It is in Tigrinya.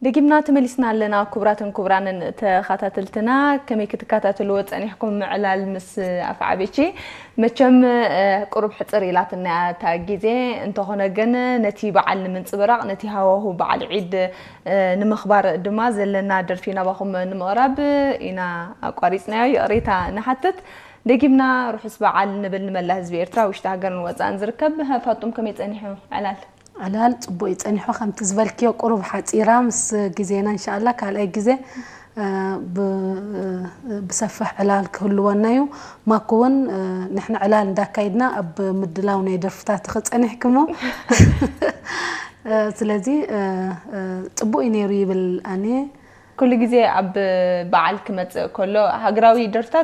ደጊምና ተመሊስና ኣለና። ክቡራትን ክቡራንን ተኸታተልትና፣ ከመይ ክትከታተልዎ ጸኒሕኩም? ምዕላል ምስ ኣፍዓቤቺ መቸም ቁሩብ ሕጽር ኢላትና እታ ግዜ። እንተኾነ ግን ነቲ በዓል ንምንጽብራቕ፣ ነቲ ሃዋሁ በዓል ዒድ ንምኽባር ድማ ዘለና ደርፊ ናባኹም ንምቕራብ ኢና ኣቋሪጽናዮ። ይቕሬታ ንሓትት። ደጊምና ርሑስ በዓል ንብል ንመላ ህዝቢ ኤርትራ፣ ውሽጢ ሃገርን ወጻእን ዝርከብ። ሃፋጡም ከመይ ጸኒሑ ዕላል? ዕላል ጽቡቕ እዩ ጸኒሑ፣ ከምቲ ዝበልክዮ ቁሩብ ሓጺራ ምስ ግዜና እንሻኣላ ካልኣይ ግዜ ብሰፍሕ ዕላል ክህልወና እዩ። ማኩ እውን ንሕና ዕላል እንዳካይድና ኣብ ምድላው ናይ ደርፍታት ክጸኒሕክሞ ስለዚ ጽቡቕ እዩ ነይሩ ይብል ኣነ። ኩሉ ግዜ ኣብ በዓል ክመጽእ ከሎ ሃገራዊ ደርፍታት